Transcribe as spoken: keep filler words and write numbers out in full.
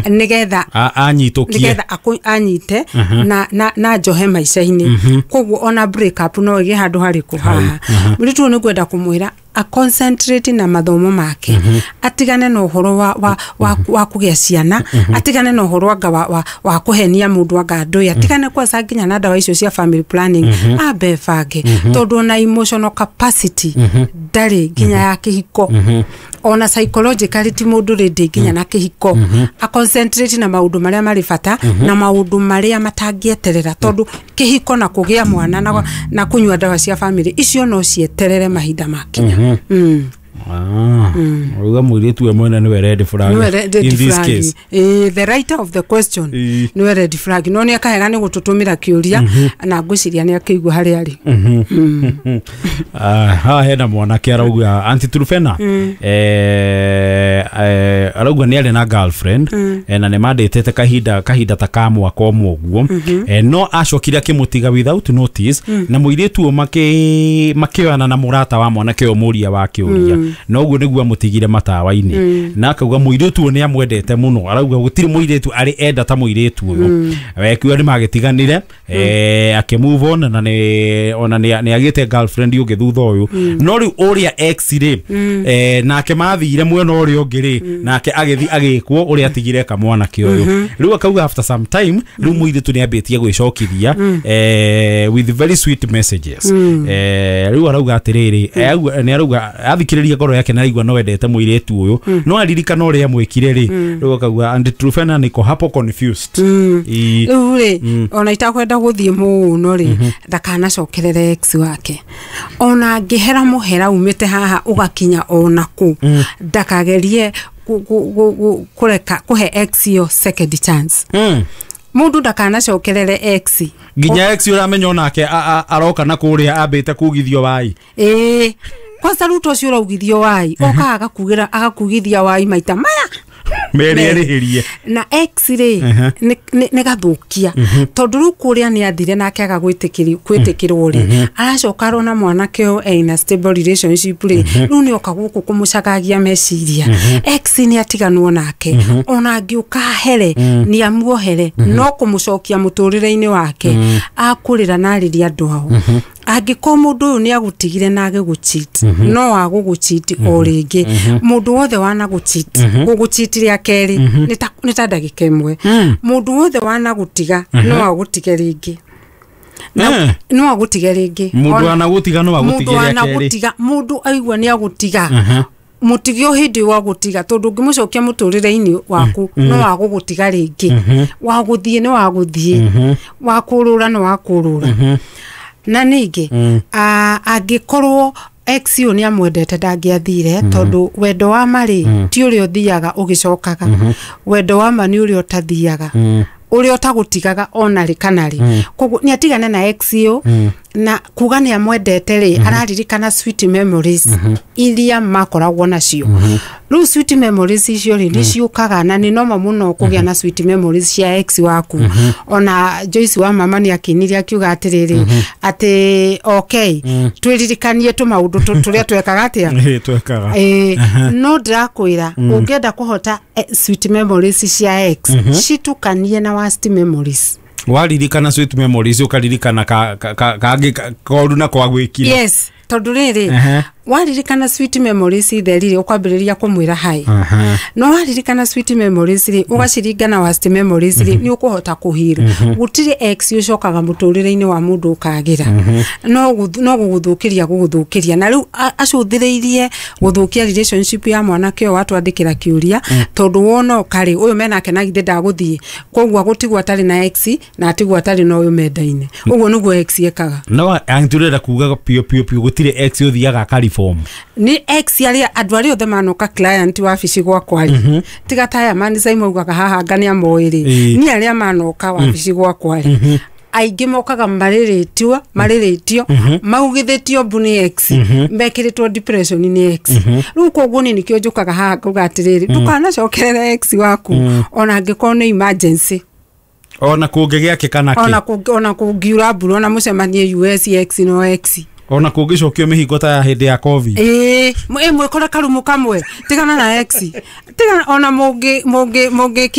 Nigetha anyitũkie, nigetha anyite na na na njohe maica-inĩ. Koguo ona break up no ĩgĩe handũ harĩkũ haha. Mũirĩtu ũyũ nĩ ngwenda kũmwĩra a concentrate na mathomo make, mm -hmm. atigane na ũhoro wa wa wa, wa kũgĩa ciana, mm -hmm. atigane na ũhoro anga wa, wa, wa kũhenia mũndũ anga ndũĩ, atigane kwanza nginya na ndawa icio cia family planning, mm -hmm. ambe bange, mm -hmm. tondũ ona emotional capacity ndarĩ nginya ya kĩhiko, mm -hmm. ona psychologically ti mũndũ rĩndĩ nginya na kĩhiko. mm -hmm. A concentrate na maũndũ marĩa marĩ bata, mm -hmm. na maũndũ marĩa matangĩeterera, tondũ kĩhiko na kũgĩa mwana na, na kũnyua ndawa cia family icio no cieterere mahinda makinya. Mm. Ah, uga mũirĩtu we mwene nĩwe red flag in this case. Eh, the writer of the question nĩwe red flag. No nĩ akahega nĩ gũtũtũmĩra kĩũria na ngwĩciria nĩ akĩigua harĩa arĩ. Ah, haha hena mwanake arauga Aunty Truphena, eh arauga nĩ arĩ na girlfriend na nĩ mandĩtĩte kahinda kahinda ta ka mwaka ũmwe ũguo, no acokire akĩmũtiga without notice, na mũirĩtu ũyũ makĩ makĩoyana na mũrata wa mwanake ũyũ mũria wa kĩũria, na ũguo nĩguo amũtigire matawa-inĩ, na akauga mũirĩtu ũyũ nĩ amwendete mũno, arauga gũtirĩ mũirĩtu arĩ enda ta mũirĩtu ũyũ. Akiuga nĩ magĩtiganire, akĩ move on, na nĩ ona nĩ agĩte girlfriend ũngĩ thutha ũyũ, no rĩu ũrĩa ex rĩ, nake mathire mwena ũrĩa ũngĩ rĩ, nake agĩthiĩ agĩkwo ũrĩa atigire kamwanake ũyũ. Rĩu akauga after some time rĩu mũirĩtu nĩ ambĩtie gwĩcokithia with very sweet messages. Rĩu arauga atĩrĩrĩ, nĩ arauga athikĩrĩria ngoro yake na aigua no endete mũirĩtu ũyũ, no aririkana ũrĩa amwĩkire rĩ, rĩu akauga Aunty Truphena niko hapo confused. Rĩu rĩ, ona itakwenda gũthiĩ mũno rĩ, ndakanacokerere ex wake, ona angĩhera mũhera umĩte haha ũgakinya ona kũ, ndakagerie kũreka kũhe ex yo second chance. Mũndũ ndakanacokerere ex nginya ex ũramenya onake aroka na kũrĩa ambĩte kugithio wai. Ĩĩ, kwanza ruto ũcio ũraugithio wai okaga agakugĩra agakugithia wai maita maya merĩ erĩhĩrie. Na ex rĩ nĩ gathũkia, tondũ rĩu kũrĩa nĩ athire nake aga gwĩtĩkĩrwo rĩ, aracoka arona mwanake ũyũ ena stable relationship rĩ, rĩu nĩ oka gũkũ kũmũcagagia meciria. Ex nĩ atiganwo nake, ona angĩũka ahere nĩ amuohere, no kũmũcokia mũtũrĩre-inĩ wake akũrĩra na arĩria andũ ao. Angĩkorwo mũndũ ũyũ nĩ agũtigire na agĩgũcheat, no agũgũcheat o rĩngĩ. Mũndũ wothe wanagũcheat, gũgũcheat rĩa kerĩ nĩ ta ndagĩka ĩmwe. Mũndũ wothe wanagũtiga no agũtige rĩngĩ. No agũtige rĩngĩ. Mũndũ wanagũtiga no agũtige rĩa kerĩ. Mũndũ aigua nĩ agũtiga, mũtige o hĩndĩ wa gũtiga, tondũ ũngĩmũcokia mũtũrĩre-inĩ waku no agũgũtiga rĩngĩ. Wa gũthiĩ nĩ wa gũthiĩ, wa kũrũra nĩ wa kũrũra. Na ningĩ angĩkorwo ex ũyũ nĩ amwendete ndangĩathire, tondũ wendo wa ma rĩ ti ũrĩa ũthiaga ũgĩcokaga, wendo wa ma nĩ ũrĩa ũtathiaga, ũrĩa ũtagũtigaga ona rĩ kana rĩ. Koguo nĩ atigane na ex ũyũ, na kuga nĩ amwendete rĩ, araririkana sweet memories iria makoragwo nacio. Rĩu sweet memories icio rĩ nĩ ciũkaga, na nĩ noma mũno kũgĩa na sweet memories cia ex waku. Ona Joyce wa mama nĩ akinire akiuga atĩrĩrĩ, atĩ okay, twĩririkanie tũmaũndũ tũrĩa twekaga atĩa, twekaga. No ndĩrakwĩra ũngĩenda kũhota sweet memories cia ex, citukanie na worst memories. Waririkana sweet memories ũkaririkana kangĩ koru na kwa gwĩkire. Yes, tondũ rĩrĩ waririkana sweet memories theri rĩ ũkwambĩrĩria kũmwĩra hi. No waririkana sweet memories rĩ ũgaciringa na worst memories rĩ nĩ ũkũhota kũhira. Gũtirĩ ex ũcokaga mũtũrĩre-inĩ wa mũndũ ũkagĩra, no no gũgũthũkĩria gũgũthũkĩria. Na rĩu acũthĩrĩirie gũthũkia relationship ya mwanake ũyũ watwandĩkĩra kĩũria, tondũ wona ũkarĩ ũyũ menake na githĩ ndagũthiĩ, koguo agũtigwo atarĩ na ex na atigwo atarĩ na ũyũ mendaine. Ũguo nĩguo ex ekaga. No angĩtũrera kuga piũ piũ piũ gũtirĩ ex ũthiaga akari ni ex arĩa andũ arĩa othe manoka client wabici gwakwa rĩ, tiga taya mani maugaga haha anga nĩ amoĩ rĩ, ni arĩa manoka wabici gwakwa rĩ, aingĩ mokaga marĩrĩtio marĩrĩtio maugithĩtio mbu nĩ ex, mekĩrĩtwo depression nĩ ex. Rĩu koguo niĩ nĩkĩo njũkaga haha ngauga atĩrĩrĩ, ndũkanacokerere ex waku ona angĩkorwo nĩ emergency, ona kũngĩgĩa kĩ kana kĩ, ona kũngiura mbura, ona mũcemanie U S ex no ex. Ona kũngĩcokio mĩhingo ta ya hĩndĩ ya COVID. Ĩĩ, ĩ mwĩkore karumu kamwe, tigana na ex, tigana ona mũngĩ mũngĩ mũngĩkia.